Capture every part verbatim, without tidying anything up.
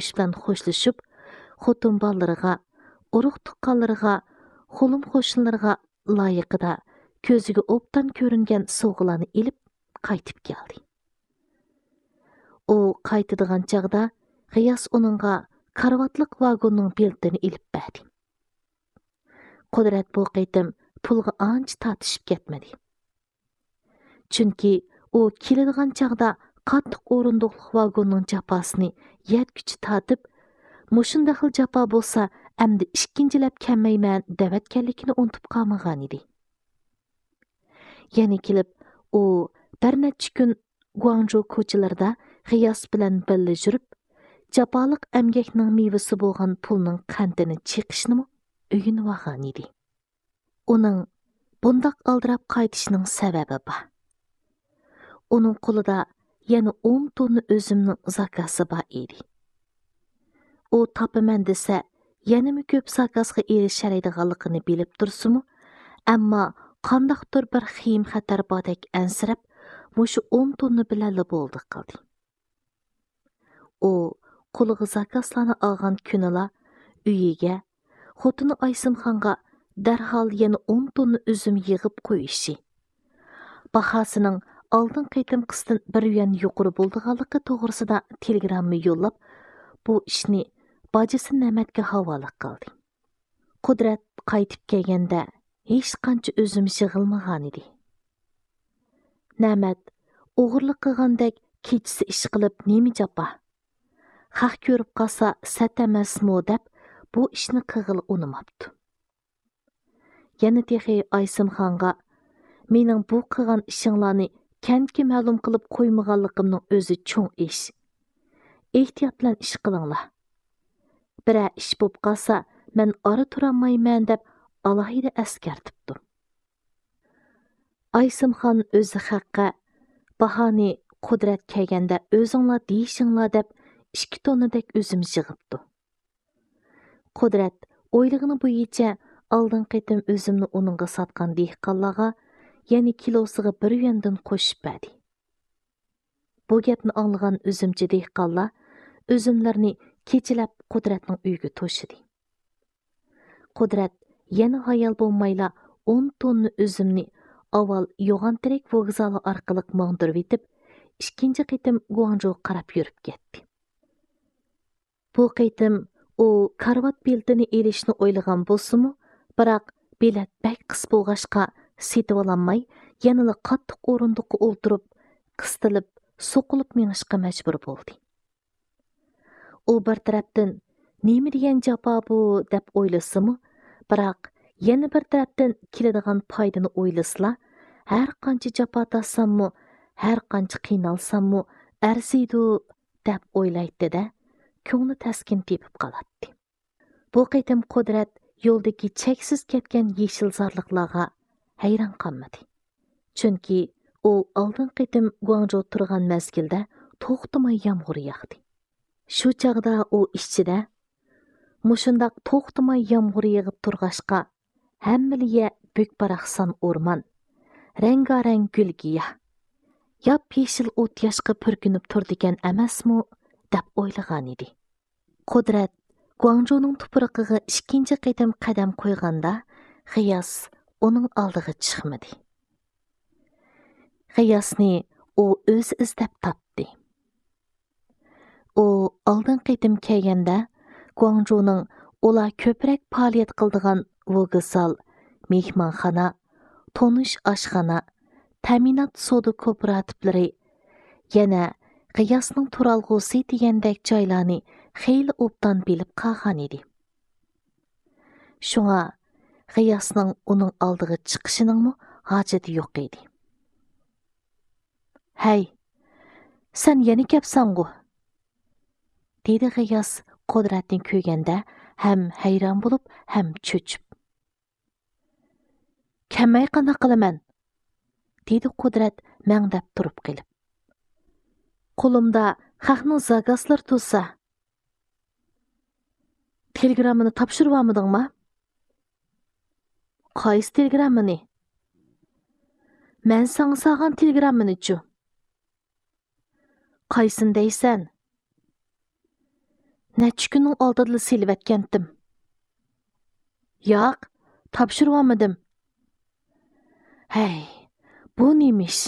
ئىش بىلەن خوشلىشىپ، خوتۇن بالىلىرىغا، ئۇرۇق تۇغقانلىرىغا، خولۇم قوشنىلىرىغا لايىقىدا كۆزىگە ئوبدان كۆرۈنگەن سوۋغىلارنى ئېلىپ قايتىپ كەلدى. ئۇ قايتىدىغان چاغدا غىياس ئۇنىڭغا كارىۋاتلىق ۋاگوننىڭ بېلىتىنى ئېلىپ بەردى. قۇدرەت بۇ قېتىم پۇلغا ئانچە تارتىشىپ كەتمىدى. چۈنكى ئۇ كېلىدىغان چاغدا قاتتىق ئورۇندۇقلۇق ۋاگوننىڭ جاپاسىنى يەتكۈچە تارتىپ، مۇشۇنداق خىل جاپا بولسا ئەمدى ئىككىنچىلەپ كەلمەيمەن دەۋەتكەنلىكىنى ئۇنتۇپ قالمىغانىدى. يەنە كېلىپ ئۇ بىر نەچچە كۈن گۇاڭجۇ كوچىلىرىدا غىياس بىلەن بىللە يۈرۈپ، جاپالىق ئەمگەكنىڭ مېۋىسى بولغان پۇلنىڭ قەنتىنى چېقىشنىمۇ ئۆگىنىۋالغانىدى. ئۇنىڭ بۇنداق ئالدىراپ قايتىشىنىڭ سەۋەبى بار. ئۇنىڭ قولىدا يەنە ئون توننا ئۈزۈمنىڭ زاكازى بار ئىدى. ئۇ تاپىمەن دېسە، يەنىمۇ كۆپ زاكازغا ئېرىشەلەيدىغانلىقىنى بىلىپ تۇرسىمۇ، ئەمما قانداقتۇر بىر خېيىم خەتەر باردەك ئەنسىرەپ، مۇشۇ ئون توننا بىلەنلا بولدى قىلدى. ئۇ قولىغا زاكازلارنى ئالغان كۈنىلا ئۆيىگە، خوتۇنى ئايسىمخانغا دەرھال يەنە ئون توننا ئۈزۈم يىغىپ قويۇشى، باھاسىنىڭ ئالدىنقى قېتىمقىسىدىن بىر يۈەن يۇقىرى بولىدىغانلىقى توغرىسىدا تېلېگرامما يوللاپ، بۇ ئىشنى باجىسى نەمەتكە ھاۋالە قىلدى. قۇدرەت قايتىپ كەلگەندە ھېچقانچە ئۈزۈم يىغىلمىغانىدى. نەمەت ئوغرىلىق قىلغاندەك كېچىسى ئىش قىلىپ نېمە جاپا؟ خەق كۆرۈپ قالسا سەت ئەمەسمۇ دەپ بۇ ئىشنى قىلغىلى ئۇنىماپتۇ. يەنە تېخى ئايسىمخانغا، مېنىڭ بۇ قىلغان ئىشىڭلارنى كەنتكە مەلۇم قىلىپ قويمىغانلىقىمنىڭ ئۆزى چوڭ ئىش. ئېھتىيات بىلەن ئىش قىلىڭلار. بىرەر ئىش بولۇپ قالسا، مەن ئارا تۇرالمايمەن دەپ ئالاھىدە ئەسكەرتىپتۇ. ئايسىمخان ئۆزى خەققە، باھانى قۇدرەت كەلگەندە ئۆزۈڭلار دېيىشىڭلار دەپ ئىككى توننىدەك ئۈزۈم يىغىپتۇ. قۇدرەت ئويلىغىنى بويىچە ئالدىنقى قېتىم ئۈزۈمنى ئۇنىڭغا ساتقان دېھقانلارغا يەنە كىلوسىغا بىر يۈەندىن قوشۇپ بەردى. بۇ گەپنى ئاڭلىغان ئۈزۈمچى دېھقانلار ئۈزۈملىرىنى كېچىلەپ قۇدرەتنىڭ ئۆيىگە توشىدى. قۇدرەت يەنە ھايال بولمايلا ئون توننا ئۈزۈمنى ئاۋۋال يوغانتېرەك ۋوگزالى ئارقىلىق ماڭدۇرۇۋېتىپ، ئىككىنچى قېتىم گۇاڭجۇغا قاراپ يۈرۈپ كەتتى. بۇ قېتىم ئۇ كارىۋات بېلىتىنى ئېلىشنى ئويلىغان بولسىمۇ، بىراق بېلەت بەك قىس بولغاچقا سېتىۋالالماي، يەنىلا قاتتىق ئورۇندۇققا ئولتۇرۇپ، قىستىلىپ، سوقۇلۇپ مېڭىشقا مەجبۇر بولدى. ئۇ بىر تەرەپتىن، «نېمە دېگەن جاپا بۇ؟» دەپ ئويلىسىمۇ، بىراق يەنە بىر تەرەپتىن كېلىدىغان پايدىنى ئويلىسىلا، «ھەر قانچە جاپا تارتساممۇ، ھەر قانچە قىينالساممۇ ئەرزىيدۇ» دەپ ئويلايتتى-دە، كۆڭلى تەسكىن تېپىپ قالاتتى. بۇ قېتىم قۇدرەت يولدىكى چەكسىز كەتكەن يېشىل زارلىقلارغا ھەيران قالمىدى. چۈنكى ئۇ ئالدىنقى قېتىم گۇاڭجۇدا تۇرغان مەزگىلدە توختىماي يامغۇر ياغدى. شۇ چاغدا ئۇ ئىچىدە، «مۇشۇنداق توختىماي يامغۇر يېغىپ تۇرغاچقا، ھەممىلا يەر بۈك-باراقسان ئورمان، رەڭگارەڭ گۈل-گىياھ، ياپيېشىل ئوت-ياشقا پۈركىنىپ تۇرىدىكەن ئەمەسمۇ؟» دەپ ئويلىغانىدى. قۇدرەت گۇاڭجۇنىڭ تۇپرىقىغا ئىككىنچى قېتىم قەدەم قويغاندا، غىياس ئۇنىڭ ئالدىغا چىقمىدى. غىياسنى ئۇ ئۆزى ئىزدەپ تاپتى. ئۇ ئالدىنقى قېتىم كەلگەندە، گۇاڭجۇنىڭ ئۇلار كۆپرەك پائالىيەت قىلىدىغان ۋوگزال، مېھمانخانا، تونۇش ئاشخانا، تەمىنات سودا كوپىراتىپلىرى، يەنە غىياسنىڭ تۇرالغۇسى دېگەندەك جايلارنى خېلى ئوبدان بىلىپ قالغانىدى. شۇڭا غىياسنىڭ ئۇنىڭ ئالدىغا چىقىشىنىڭمۇ ھاجىتى يوق ئىدى. «ھەي، سەن يەنە كەپسەنغۇ؟» دېدى غىياس قۇدرەتنى كۆرگەندە ھەم ھەيران بولۇپ، ھەم چۆچۈپ. «كەلمەي قانداق قىلىمەن؟» دېدى قۇدرەت مەڭدەپ تۇرۇپ قېلىپ. «قولۇمدا خەقنىڭ زاكازلىرى تۇرسا.» «تېلېگراممىنى تاپشۇرۇۋالمىدىڭما؟» «قايسى تېلېگراممىنى؟» «مەن ساڭا سالغان تېلېگراممىنىچۇ؟» «قايسىنى دەيسەن؟» نەچچە كۈننىڭ ئالدىدىلا سېلىۋەتكەنتىم. ياق، تاپشۇرۇۋالمىدىم. ھەي، بۇ نېمە ئىش؟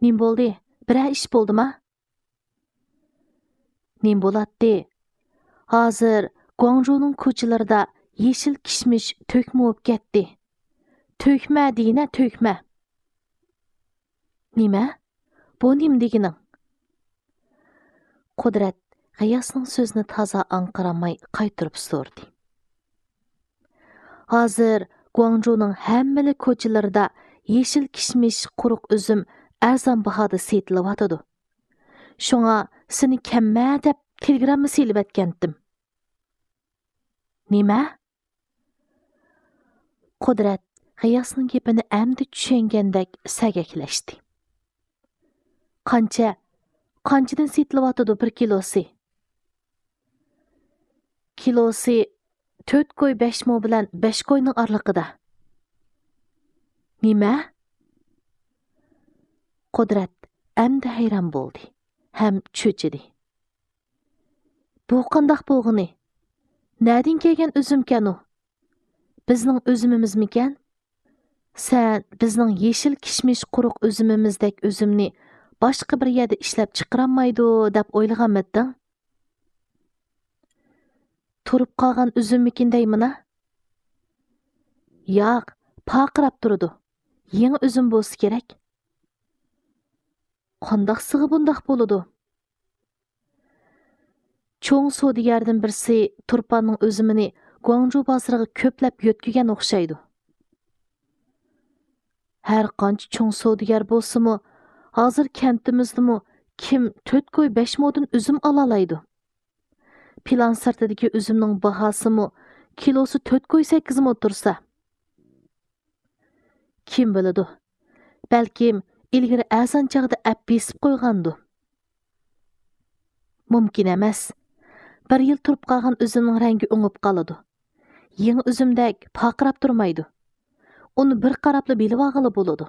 نېمە بولدى؟ بىرەر ئىش بولدىما؟ نېمە بولاتتى؟ ھازىر گۇاڭجۇنىڭ كوچىلىرىدا يېشىل كىشمىش تۆكمە بولۇپ كەتتى. تۆكمە دېگىنە، تۆكمە. نېمە؟ بۇ نېمە دېگىنىڭ؟ قۇدرەت غىياسنىڭ سۆزىنى تازا ئاڭقىرالماي قايتۇرۇپ سورىدى. ھازىر گۇاڭجۇنىڭ ھەممىلا كوچىلىرىدا يېشىل كىشمىش، قۇرۇق ئۈزۈم ئەرزان باھادا سېتىلىۋاتىدۇ. شۇڭا سېنى كەممە دەپ تېلېگرامما سېلىۋەتكەنتىم. نېمە؟ قۇدرەت غىياسنىڭ گېپىنى ئەمدى چۈشەنگەندەك سەگەكلەشتى. قانچە؟ قانچىدىن سېتىلىۋاتىدۇ بىر كىلوسى؟ كىلوسى تۆت كوي بەش مو بىلەن بەش كوينىڭ ئارىلىقىدا. نېمە؟ قۇدرەت ئەمدى ھەيران بولدى ھەم چۆچۈدى. بۇ قانداق بولغىنى؟ نەدىن كەلگەن ئۈزۈمكەن ئۇ؟ بىزنىڭ ئۈزۈمىمىزمىكەن؟ سەن بىزنىڭ يېشىل كىشمىش، قۇرۇق ئۈزۈمىمىزدەك ئۈزۈمنى باشقا بىر يەردە ئىشلەپ چىقىرالمايدۇ دەپ ئويلىغانمىدىڭ؟ تۇرۇپ قالغان ئۈزۈممىكىن دەيمىنا؟ ياق، پارقىراپ تۇرىدۇ. يېڭى ئۈزۈم بولسا كېرەك. قانداقسىغا بۇنداق بولىدۇ؟ چوڭ سودىگەردىن بىرسى تۇرپاننىڭ ئۈزۈمىنى گۇاڭجۇ بازىرىغا كۆپلەپ يۆتكىگەن ئوخشايدۇ. ھەر قانچە چوڭ سودىگەر بولسىمۇ، ھازىر كەنتىمىزدىمۇ كىم تۆت كوي بەش مودىن ئۈزۈم ئالالايدۇ؟ پىلان سىرتىدىكى ئۈزۈمنىڭ باھاسىمۇ كىلوسى تۆت كوي سەككىز مو تۇرسا. كىم بىلىدۇ؟ بەلكىم ئىلگىرى ئەرزان چاغدا ئەپ بېسىپ قويغاندۇ. مۇمكىن ئەمەس. بىر يىل تۇرۇپ قالغان ئۈزۈمنىڭ رەڭگى ئوڭۇپ قالىدۇ. يېڭى ئۈزۈمدەك پارقىراپ تۇرمايدۇ. ئۇنى بىر قاراپلا بىلىۋالغىلى بولىدۇ.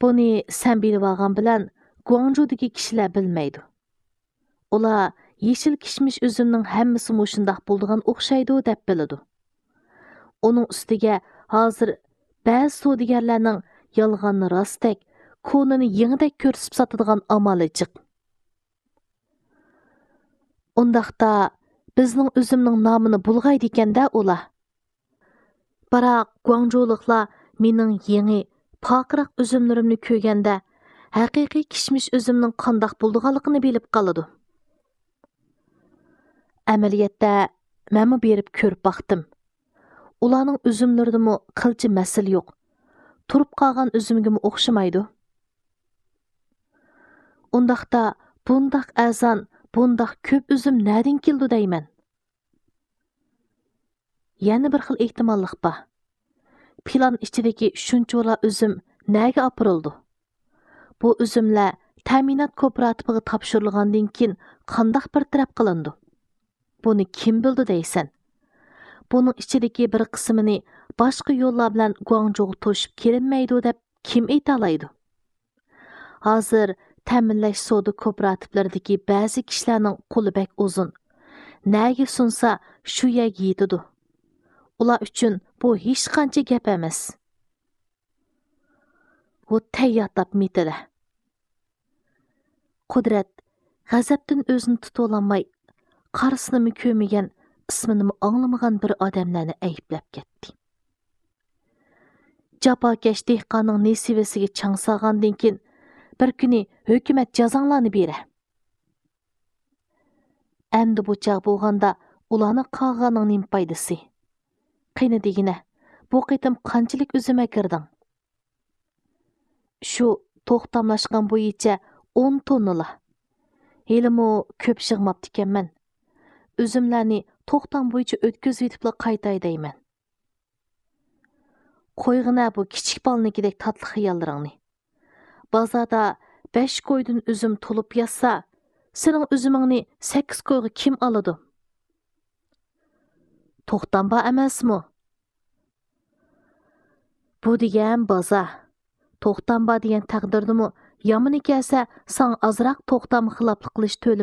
بۇنى سەن بىلىۋالغان بىلەن گۇاڭجۇدىكى كىشىلەر بىلمەيدۇ. ئۇلار يېشىل كىشمىش ئۈزۈمنىڭ ھەممىسى مۇشۇنداق بولىدىغان ئوخشايدۇ دەپ بىلىدۇ. ئۇنىڭ ئۈستىگە ھازىر بەزى سودىگەرلەرنىڭ يالغاننى راستتەك، كونىنى يېڭىدەك كۆرسىتىپ ساتىدىغان ئامالى جىق. ئۇنداقتا بىزنىڭ ئۈزۈمنىڭ نامىنى بۇلغايدىكەن-دە ئۇلار. بىراق گۇاڭجۇلۇقلار مېنىڭ يېڭى، پارقىراق ئۈزۈملىرىمنى كۆرگەندە، ھەقىقىي كىشمىش ئۈزۈمنىڭ قانداق بولىدىغانلىقىنى بىلىپ قالىدۇ. ئەمەلىيەتتە، مەنمۇ بېرىپ كۆرۈپ باقتىم. ئۇلارنىڭ ئۈزۈملىرىدىمۇ قىلچە مەسىلە يوق. تۇرۇپ قالغان ئۈزۈمگىمۇ ئوخشىمايدۇ. ئۇنداقتا بۇنداق ئەرزان، بۇنداق كۆپ ئۈزۈم نەدىن كېلىدۇ دەيمەن؟ يەنە بىر خىل ئېھتىماللىق بار. پىلان ئىچىدىكى شۇنچىۋالا ئۈزۈم نەگە ئاپىرىلىدۇ؟ بۇ ئۈزۈملەر تەمىنات كوپىراتىپىغا تاپشۇرۇلغاندىن كېيىن قانداق بىر تەرەپ قىلىنىدۇ؟ بۇنى كىم بىلىدۇ دەيسەن؟ بۇنىڭ ئىچىدىكى بىر قىسمىنى باشقا يوللار بىلەن گۇاڭجۇغا توشۇپ كېلىنمەيدۇ دەپ كىم ئېيتالايدۇ؟ ھازىر تەمىنلەش سودا كوپىراتىپلىرىدىكى بەزى كىشىلەرنىڭ قولى بەك ئۇزۇن. نەگە سۇنسا، شۇ يەرگە يېتىدۇ. ئۇلار ئۈچۈن بۇ ھېچقانچە گەپ ئەمەس. ۋۇ تەييار تاپ مىتىلە. قۇدرەت غەزەپتىن ئۆزىنى تۇتۇۋالالماي، قارىسىنىمۇ كۆرمىگەن، ئىسمىنىمۇ ئاڭلىمىغان بىر ئادەملەرنى ئەيىبلەپ كەتتى. جاپاكەش دېھقاننىڭ نېسىۋىسىگە چاڭ سالغاندىن كېيىن، بىر كۈنى ھۆكۈمەت جازاڭلارنى بېرە. ئەمدى بۇ چاغ بولغاندا ئۇلارنى قاغىغاننىڭ نېمە پايدىسى؟ قېنى دېگىنە، بۇ قېتىم قانچىلىك ئۈزۈم ئەكىردىڭ؟ شۇ توختاملاشقان بويىچە ئون توننىلا. ھېلىمۇ كۆپ يىغماپتىكەنمەن. ئۈزۈملەرنى توختام بويىچە ئۆتكۈزۈۋېتىپلا قايتاي دەيمەن. قويغىنە بۇ كىچىك بالىنىڭكىدەك تاتلىق خىياللىرىڭنى. بازاردا بەش كويدىن ئۈزۈم تولۇپ ياتسا، سېنىڭ ئۈزۈمۈڭنى سەككىز كويغا كىم ئالىدۇ؟ توختام بار ئەمەسمۇ؟ بۇ دېگەن بازار. توختام بار دېگەن تەقدىردىمۇ يامىنى كەلسە، ساڭا ئازراق توختام خىلاپلىق قىلىش تۆلىمى